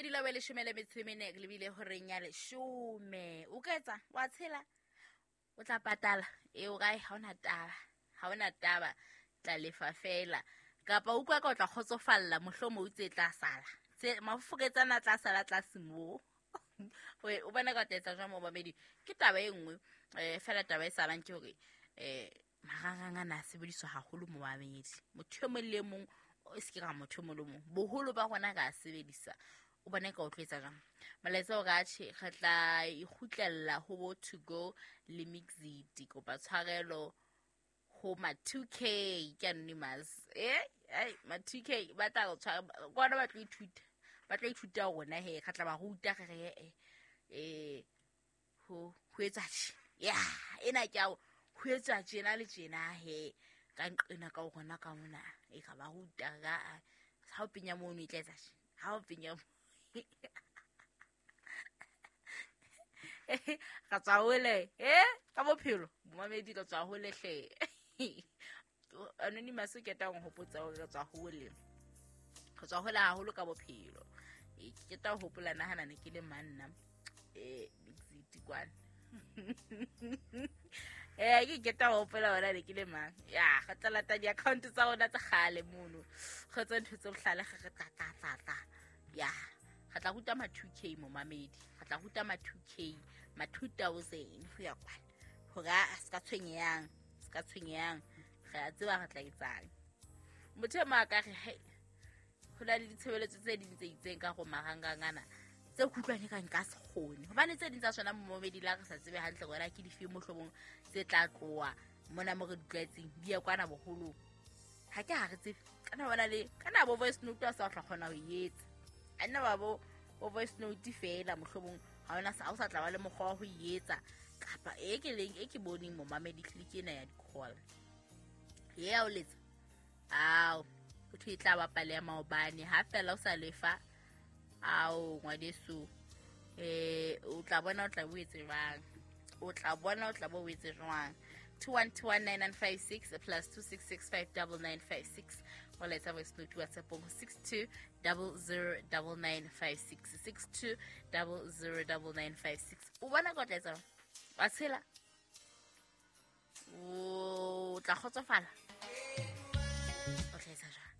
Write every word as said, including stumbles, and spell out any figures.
Dilo be leshome le metso e mene re lebile horeng ya leshome. O ka etsa wa tshela o tla patala e o kae, ha ona taba, ha ona taba, tla lefa fela. Kapa utlwa ka o tla kgotsofalla mohlomong o tse tla sala tse mafoketsana tla sala tlase moo. O bona ka o tla etsa jwang momamedi? Ke taba e nngwe um fela taba e salang ke hore um marangrang ana a sebediswa haholo momamedi. Motho e mong le e mong, o se ke ra motho e mong le mong, boholo ba rona re a sebedisa. O bone ka o tlo etsa jwang? Molaetsa o re atjhe re tla ikgutlella ho bo to go le Mixit. Kopa tshwarelo ho ma two K ke anonymous. Eh, ai ma two K ba tla re tshwara kwana, ba tlo ithuta, ba tlo ithuta rona he, re tla ba ruta re re eh eh ho ho etsa tje. Ya, ena ke ao ho etsa tjena le tjena he, ka nqena ka rona ka mona e ka ba ruta ka ha o penya mono e tla etsa tje, ha o penya ka tswa hole eh ka bophelo momamedi, ka tswa hole hle. Anonymous ke tla hopotsa hore re tswa hole, re tswa hole haholo ka bophelo. Ke tla hopola nahana ne ke le manna eh Mixit kwana. Eh ke ke tla hopola hore ne ke le mang. Ya re tla lata di-account tsa rona tsa kgale mono, re tse ntho tse bohlale re re tla tla tla tla. Ya re tla ruta ma two K momamedi, re tla ruta ma two K ma two thousand ho ya kwana hore a se ka tshwenyehang, se ka tshwenyehang, re a tseba re tla etsang. Motho e mong a ka re he ho na le ditshebeletso tse ding tse itseng ka go marangrang ana tse kutlwane ka nka se kgone, hobane tse ding tsa sona momamedi la re sa tsebe hantle hore ke dife mohlomong tse tla tloha mona mo re di tlwaetseng di ya kwana boholong. Ha ke ha re tsebe kana bona le kana bo voice note a sa tla kgona ho e etsa, a nna ba bo bo voice note fela mohlomong ha ona sa o sa tla ba le mokgwa wa ho e etsa. Kapa e ke leng e ke boneng momamedi click ena ya di-call ya o letsa ao o thwe e tla bapala ya maobane ha fela o sa lefa ao ngwaneso eh o tla bona o tla bo etse jwang, o tla bona o tla bo etse jwang. Two one two one nine nine five six plus two six six five double nine five six. Molaetsa voice note WhatsApp ho six two double zero double nine five six six two double zero double nine five six. O bona ka o tla etsa wa tshela o tla kgotsofala o tla etsa jwang?